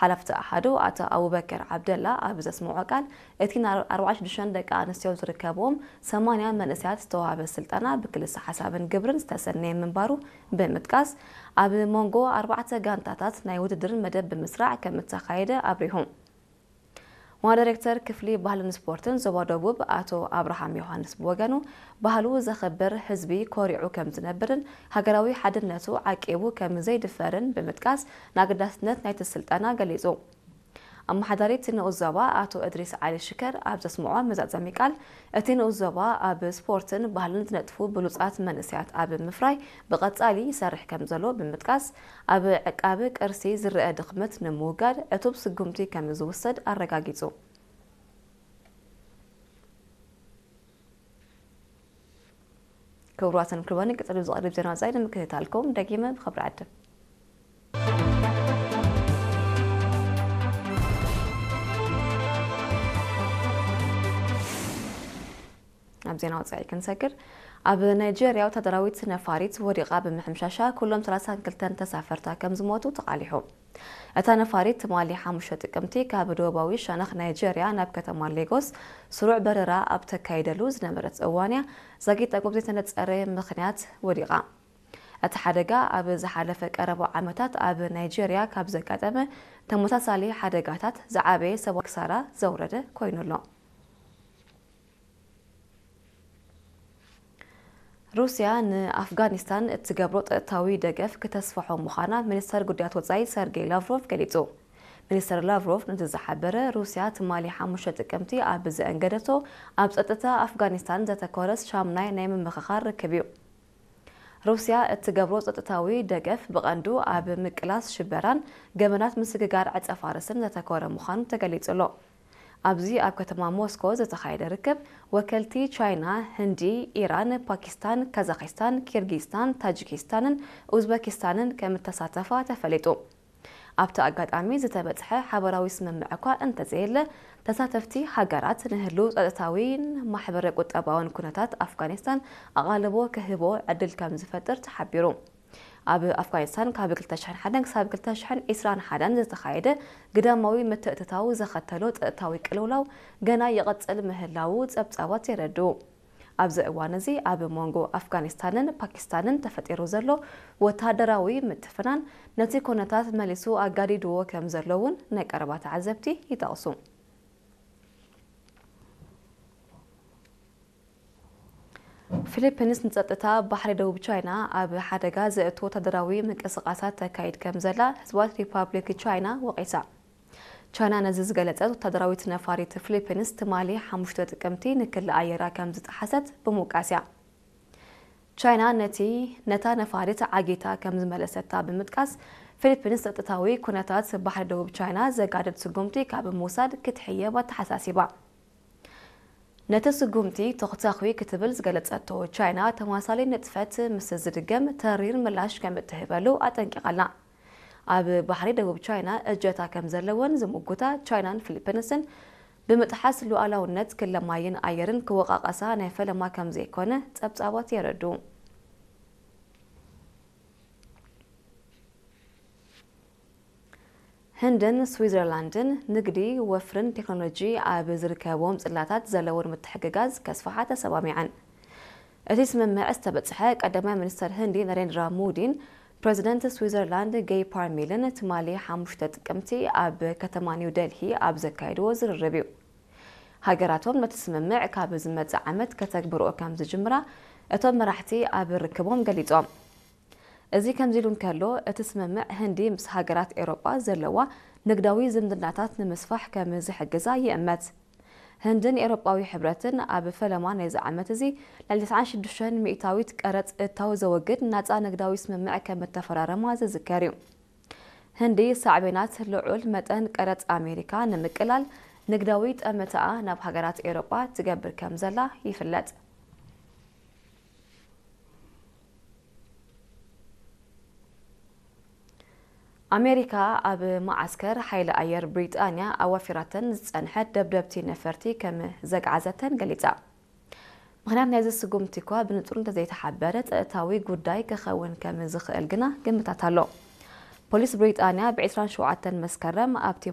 ሓላፍቲ ኣሓዱ ኣቶ ኣቡበከር ዓብደላ ኣብ ዘስምዖ ቃል፣ እቲ ን ኣርባዕተ ሽዱሽተ ደቂ ኣንስትዮ ዝርከብዎም ሰማንያ መንእሰያት ዝተዋህበ ስልጠና ብክልሰ ሓሳብን ግብርን ዝተሰነየ ምንባሩ ብምጥቃስ፣ ኣብ መንጎ ኣርባዕተ ጋንታታት ናይ ውድድር መደብ ብምስራዕ ከም እተኻየደ ኣብሪሁ። ዋና ዳይሬክተር ክፍሊ ባህልን ስፖርትን ዞባ ደቡብ ኣቶ ኣብርሃም ዮሃንስ ብወገኑ፣ ባህሉ ዘኽብር ህዝቢ ኮሪዑ ከም ዝነብርን ሃገራዊ ሓድነቱ ዓቂቡ ከም ዘይድፈርን ብምጥቃስ፣ ንኣገዳስነት ናይቲ ስልጠና ገሊጹ። ኣመሓዳሪ እቲ ንኡስ ዞባ ኣቶ እድሪስ ዓሊ ሽከር ኣብ ዘስምዖ መዛዘሚ ቃል፣ እቲ ንኡስ ዞባ ኣብ ስፖርትን ባህልን ዝነጥፉ ብሉጻት መንእሰያት ኣብ ምፍራይ ብቐጻሊ ይሰርሕ ከም ዘሎ ብምጥቃስ፣ ኣብ ዕቃብ ቅርሲ ዝረኣ ድኽመት ንምውጋድ ዕቱብ ስጉምቲ ከም ዝውሰድ ኣረጋጊጹ። ክቡራትን ክቡራን፣ ቀጺሉ ዝቐርብ ዜና ወጻኢ ንምክትታልኩም ደጊመ ብኽብሪ ዕድም። ኣብ ዜና ወጻኢ ክንሰግር፣ ኣብ ናይጄርያ ወታደራዊት ነፋሪት ወዲቓ ብምሕምሻሻ ኩሎም ሰላሳን ክልተን ተሳፈርታ ከም ዝሞቱ ተቓሊሑ። እታ ነፋሪት ትማሊ ሓሙሽተ ጥቅምቲ ካብ ደቡባዊ ሸነኽ ናይጄርያ ናብ ከተማ ሌጎስ ስሩዕ በረራ ኣብ ተካይደሉ ዝነበረት እዋን እያ ዛጊት ጠንቁ ብዘይተነጸረ ምኽንያት ወዲቓ። እቲ ሓደጋ ኣብ ዝሓለፈ ቀረባ ዓመታት ኣብ ናይጄርያ ካብ ዘጋጠመ ተመሳሳሊ ሓደጋታት ዝዓበየ ሰብኣዊ ክሳራ ዘውረደ ኮይኑ ኣሎ። ሩስያ ንኣፍጋኒስታን እትገብሮ ጸጥታዊ ደገፍ ክተስፍሖ ምዃና ሚኒስተር ጉዳያት ወጻኢ ሰርጌይ ላቭሮቭ ገሊጹ። ሚኒስተር ላቭሮቭ ነዚ ዝሓበረ፣ ሩስያ ትማሊ ሓሙሽተ ጥቅምቲ ኣብ ዘእንገደቶ ኣብ ጸጥታ ኣፍጋኒስታን ዘተኮረ ሻምናይ ናይ ምምኽኻር ርክብ እዩ። ሩስያ እትገብሮ ጸጥታዊ ደገፍ ብቐንዱ ኣብ ምቅላስ ሽበራን ገበናት ምስግጋር ዕጸ ፋርስን ዘተኮረ ምዃኑ ተገሊጹ ኣሎ። ኣብዚ ኣብ ከተማ ሞስኮ ዝተኻየደ ርክብ፣ ወከልቲ ቻይና፣ ህንዲ፣ ኢራን፣ ፓኪስታን፣ ካዛኺስታን፣ ኪርጊስታን፣ ታጂኪስታንን ኡዝበኪስታንን ከም እተሳተፋ ተፈሊጡ። ኣብቲ ኣጋጣሚ ዝተበጽሐ ሓበራዊ ስምምዕ እኳ እንተዘየለ፣ ተሳተፍቲ ሃገራት ንህሉው ጸጥታዊን ማሕበረ ቁጠባውን ኩነታት ኣፍጋኒስታን ኣቓልቦ ክህቦ ዕድል ከም ዝፈጥር ተሓቢሩ። ኣብ ኣፍጋኒስታን ካብ ክልተ ሽሕን ሓደን ክሳብ ክልተ ሽሕን ዕስራን ሓደን ዝተኻየደ ግዳማዊ ምትእትታው ዘኸተሎ ጸጥታዊ ቅልውላው ገና ይቕጽል ምህላዉ ጸብጻባት የረድኡ። ኣብዚ እዋን እዚ ኣብ መንጎ ኣፍጋኒስታንን ፓኪስታንን ተፈጢሩ ዘሎ ወተሃደራዊ ምትፍናን ነቲ ኩነታት መሊሱ ኣጋዲድዎ ከም ዘሎ እውን ናይ ቀረባ ተዓዘብቲ ይጠቕሱ። ፊሊፒንስ ንጸጥታ ባሕሪ ደቡብ ቻይና ኣብ ሓደጋ ዘእቱ ወታደራዊ ምንቅስቓሳት ተካይድ ከም ዘላ ህዝባዊት ሪፓብሊክ ቻይና ወቒሳ። ቻይና ነዚ ዝገለጸት፣ ወታደራዊት ነፋሪት ፊሊፒንስ ትማሊ ሓሙሽተ ጥቅምቲ ንክሊ ኣየራ ከም ዝጠሓሰት ብምውቃስ እያ። ቻይና ነቲ፣ ነታ ነፋሪት ዓጊታ ከም ዝመለሰታ ብምጥቃስ፣ ፊሊፒንስ ጸጥታዊ ኩነታት ባሕሪ ደቡብ ቻይና ዘጋድድ ስጉምቲ ካብ ምውሳድ ክትሕየብ ኣተሓሳሲባ። ነቲ ስጉምቲ ተኹተኹ ክትብል ዝገለጸቶ ቻይና፣ ተመሳሳሊ ንጥፈት ምስ ዝድገም ተሪር ምላሽ ከም እትህበሉ ኣጠንቂቓ ኣላ። ኣብ ባሕሪ ደቡብ ቻይና እጀታ ከም ዘለወን ዝምጉታ ቻይናን ፊሊፒንስን፣ ብምጥሓስ ሉዓላውነት ክለ ማይን ኣየርን ክወቃቀሳ ናይ ፈለማ ከም ዘይኮነ ጸብጻባት የረድኡ። ህንድን ስዊዘርላንድን ንግዲ፣ ወፍርን ቴክኖሎጂ ኣብ ዝርከብዎም ጽላታት ዘለወን ምትሕግጋዝ ከስፍሓ ተሰማሚዐን። እቲ ስምምዕ ዝተበጽሐ ቀዳማይ ሚኒስተር ህንዲ ናሬንድራ ሞዲን ፕረዚደንት ስዊዘርላንድ ጌይ ፓርሜልን ትማሊ ሓሙሽተ ጥቅምቲ ኣብ ከተማ ኒው ደልሂ ኣብ ዘካየድዎ ዝርርብ እዩ። ሃገራቶም ነቲ ስምምዕ ካብ ዝመጽእ ዓመት ከተግብርኦ ከም ዝጅምራ እቶም መራሕቲ ኣብ ርክቦም ገሊጾም። እዚ ከምዚ ኢሉ እንከሎ፣ እቲ ስምምዕ ህንዲ ምስ ሃገራት ኤውሮጳ ዘለዋ ንግዳዊ ዝምድናታት ንምስፋሕ ከም ዝሕግዛ ይእመት። ህንድን ኤውሮጳዊ ሕብረትን ኣብ ፈለማ ናይዚ ዓመት እዚ ልዕሊ ተስዓን ሽዱሽተን ሚእታዊት ቀረጽ እታው ዘወግድ ናጻ ንግዳዊ ስምምዕ ከም እተፈራረማ ዝዝከር እዩ። ህንዲ ሳዕቤናት ልዑል መጠን ቀረጽ ኣሜሪካ ንምቅላል ንግዳዊ ጠመተኣ ናብ ሃገራት ኤውሮጳ ትገብር ከም ዘላ ይፍለጥ። ኣሜሪካ ኣብ መዓስከር ሓይሊ ኣየር ብሪጣንያ ኣዋፊራተን ዝጸንሐት ደብደብቲ ነፈርቲ ከም ዘግዓዘተን ገሊጻ። ምኽንያት ናይዚ ስጉምቲ እኳ ብንጹር እንተዘይተሓበረ፣ ጸጥታዊ ጉዳይ ክኸውን ከም ዝኽእል ግና ግምታት ኣሎ። ፖሊስ ብሪጣንያ ብ ዕስራን ሸውዓተን መስከረም ኣብቲ